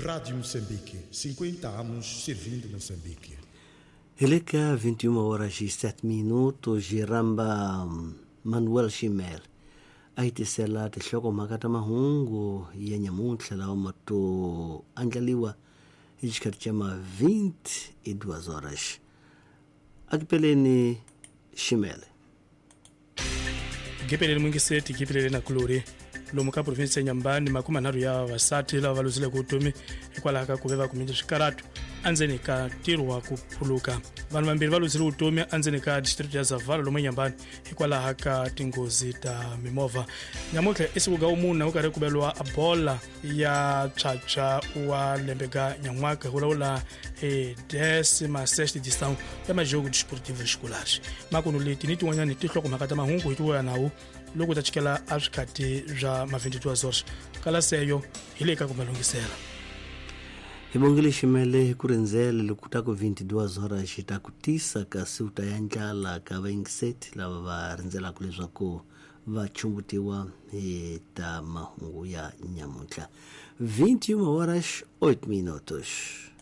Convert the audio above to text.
Rádio Moçambique, 50 anos servindo Moçambique. Hi le ka 21 horas e 7 minutos hi rhamba Manuel Ximele a hi tisela tinhlokomhaka ta mahungu ya nyamuntlha lawa ma to andlariwa hi xikhathi xa ma 22 horas. Akipeleni Ximele. Gipeleni mwingiseti gipelele na kulori lomu ka provinsi ya Nyambani makumanharhu ya vavasati lava va luzileke vutomi hikwalaho ka ku ve va kumile swikaratu endzeni ka ntirho wa ku phuluka. Vanhu vambirhi va luzile vutomi endzeni ka district ya Zavala lomu eNyambani hikwalaho ka tinghozi ta mimovha. Nyamuntlha i siku ga wumuna ku karhi ku beliwa bola ya tshwatshwa wa lembe ga nyan'waka hi vulavula hi décima sexta edição ya majogo desportivo escolares. Makuno leti ni tin'wanyani tinhlokomhaka ta mahungu hi tivuya nawu loko ta chikela a swikhati bya ma 22 horas kalaseyo hi le ka ku malungisela. Hi bongile Ximele hi ku rindzela loko ta ku 22 horas xi ta ku tisa kasi u ta ya ndlala ka vayingiseti lava va rindzelaka leswaku va chumbutiwa hi ta mahungu ya nyamuntlha. 21 horas 8 minutos.